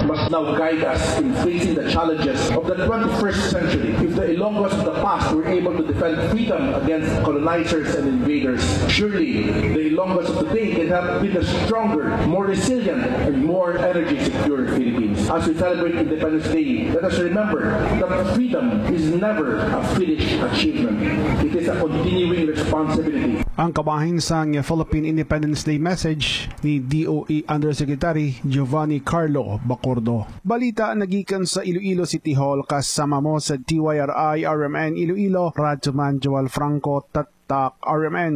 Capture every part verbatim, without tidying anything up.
must now guide us in facing the challenges of the twenty-first century. If the Ilonggos of the past were able to defend freedom against colonizers and invaders, surely the Ilonggos of today can help build a stronger, more resilient, and more energy secure Philippines. As we celebrate Independence Day, let us remember that freedom is never a finished achievement. It is a continuing responsibility. Ang kabahin sang Philippine Independence Day message ni D O E Undersecretary Giovanni Carlo Bacordo. Balita nagikan sa Iloilo City Hall, kasama mo sa D Y R I R M N Iloilo, Radyo Man Joel Franco, Tatak R M N.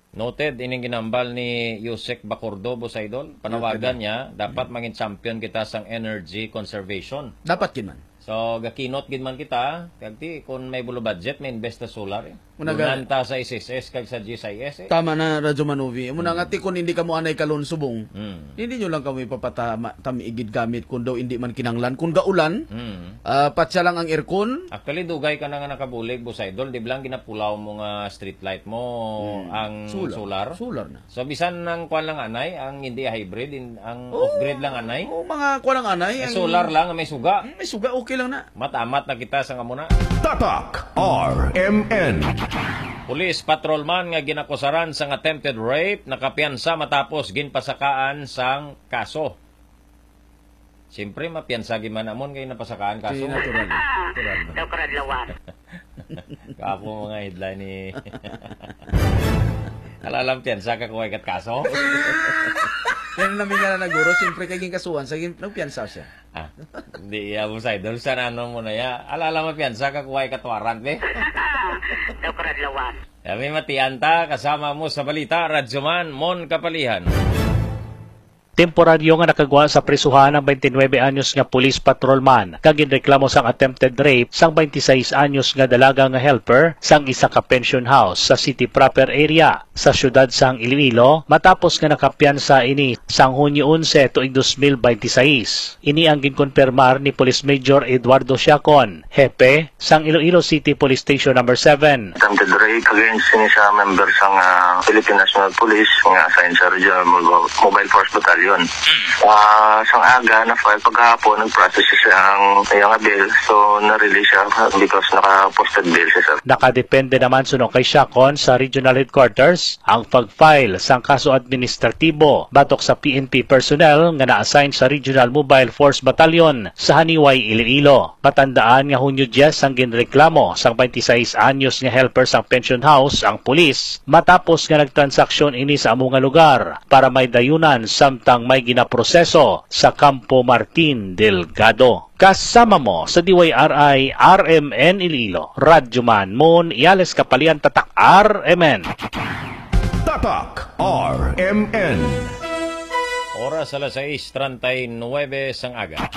Noted, ining ginambal ni Yusek Bacordo, Boss Idol. Panawagan niya, dapat mangin champion kita sang energy conservation. Dapat gid man. So, gakinot gid man kita, kag ti, kung may bulo budget, may invest sa solar, eh. Muna ga- Dunan ta sa S S S kag sa G S I S, eh. Tama na, Radyo Manuvi. Muna nga, ti, kung hindi kamo anay kalon subong, Hmm. hindi nyo lang kamo ipapatama, tami igid gamit kung daw hindi man kinanglan. Kung gaulan, Hmm. ah, patsa lang ang aircon. Actually, dugay ka na nga nakabulig, Boss Idol. Di ba lang ginapulaw mo nga street light mo, Hmm. ang Solar. solar? Solar na. So, bisan ang kwan lang anay, ang hindi hybrid, in, ang Oo. off-grid lang anay? Oo, mga kwan lang anay, May ang solar lang, may suga. Mm, may suga, okay lang na. Matamat na kita sa amo na. Tatak R M N. Police patrolman nga ginakusaran sang attempted rape nakapiyansa matapos ginpasakaan sang kaso. Siyempre, mapiyansa gid man amon kay napasakaan kaso. Di natural. Natural man. Daw karadlawan. Kapo mga headline ni Alalang piyansa ka kuway kat kaso. Yan ang namin nga na naguro, siyempre kay ginkasuhan sa gin-, nagpiyansa siya. Ah, hindi, iya mo sa idol. Sa ano mo na ya? Alala mo piyansa ka kuway kat warrant, eh. Daw karadlawan. Kami matian ta, kasama mo sa balita, Radyoman Mon Kapalihan. Temporaryo nga nakagwa sa prisuhan ang twenty-nine anyos nga police patrolman kag ginreklamo sang attempted rape sang twenty-six anyos nga dalaga nga helper sang isa ka pension house sa city proper area sa siyudad sang Iloilo, matapos nga nakapiyansa ini sang Hunyo onse tuig dos mil binte seis. Ini ang ginkonfirmar ni Police Major Eduardo Siacon, hepe sang Iloilo City Police Station Number seven. Attempted rape against ni sa member sang, ah, Philippine National Police nga assigned sa Regional Mo-, Mobile Force Battalion. Ah, sang aga na file pagkahapon, nag-process siya ang iyang bail. So, na-release siya because naka-posted bail siya, sir. Nakadepende naman suno kay Siacon sa Regional Headquarters ang pag-file sang kaso administratibo batok sa P N P personnel nga na-assign sa Regional Mobile Force Battalion sa Janiuay, Iloilo. Matandaan nga Hunyo diyes ang ginreklamo sang twenty-six anyos nga helper sang pension house ang pulis matapos nga nagtransaksyon ini sa amo nga lugar para may dayunan samtang may ginaproseso sa Campo Martin Delgado. Kasama mo sa D Y R I R M N Iloilo, Radyo Man Mon Iales Kapalian, Tatak R M N. Tatak R M N. Oras alas sais treinta y nueve sang aga.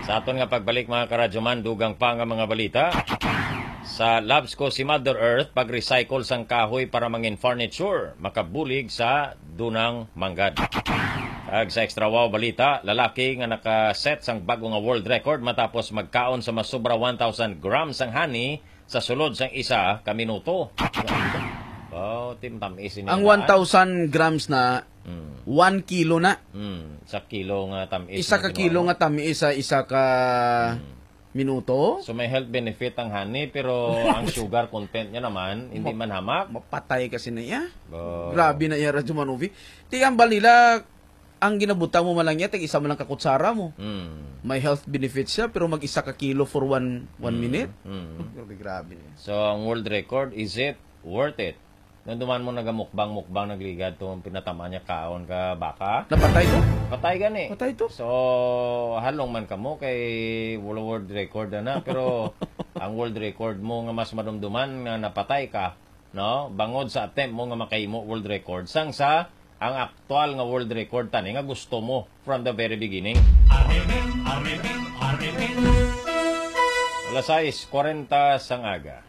Sa aton nga pagbalik, mga karadyoman, dugang pa nga mga balita. Sa Labs ko si Mother Earth, pag-recycle sang kahoy para mangin furniture, makabulig sa dunang manggad. Kag sa Extra Wow balita, lalaki nga naka-set sang bago nga world record matapos magkaon sa mas sobra one thousand grams sang honey sa sulod sang isa ka minuto. Oh, tim tamis ini Ang na. One thousand grams na, Mm. One kilo na. Mm, sa kilo nga tamis Isa na ka kinuha kilo mo. Nga tamis sa isa ka Mm. minuto. So, may health benefit ang honey, pero ang sugar content niya naman, hindi Map-, man hamak. Mapatay kasi na iya. Bo. Grabe na iya, Radyo Manuvi. Ti ang balila, ang ginabutang mo man lang niya, tag isa man lang ka kutsara mo. Mm. May health benefit siya, pero mag isa ka kilo for one, one Mm. minute? Mm. Grabe, grabe na iya. So, ang world record, is it worth it? Nung duman mo nagamukbang-mukbang, nagligad to, ang pinatama niya kaon ka baka. Napatay to? Patay gani. Patay to? So, halong man kamo kay wala world record na, pero ang world record mo nga mas madumduman nga napatay ka, no? Bangod sa attempt mo nga makahimo world record, sang sa ang aktual nga world record tani nga gusto mo from the very beginning. R M N, R M N, R M N. Alas sais kwarenta sang aga.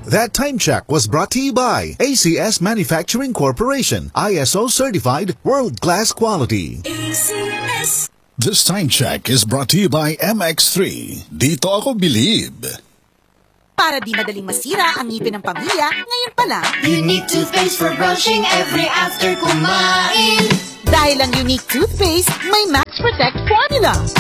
That time check was brought to you by A C S Manufacturing Corporation, I S O certified, world-class quality. A C S. This time check is brought to you by M X three. Dito ako bilib. Para di madaling masira ang ngipin ng pamilya, ngayon pa lang. Unique toothpaste for brushing every after kumain. Dahil ang Unique toothpaste may match Protect Formula.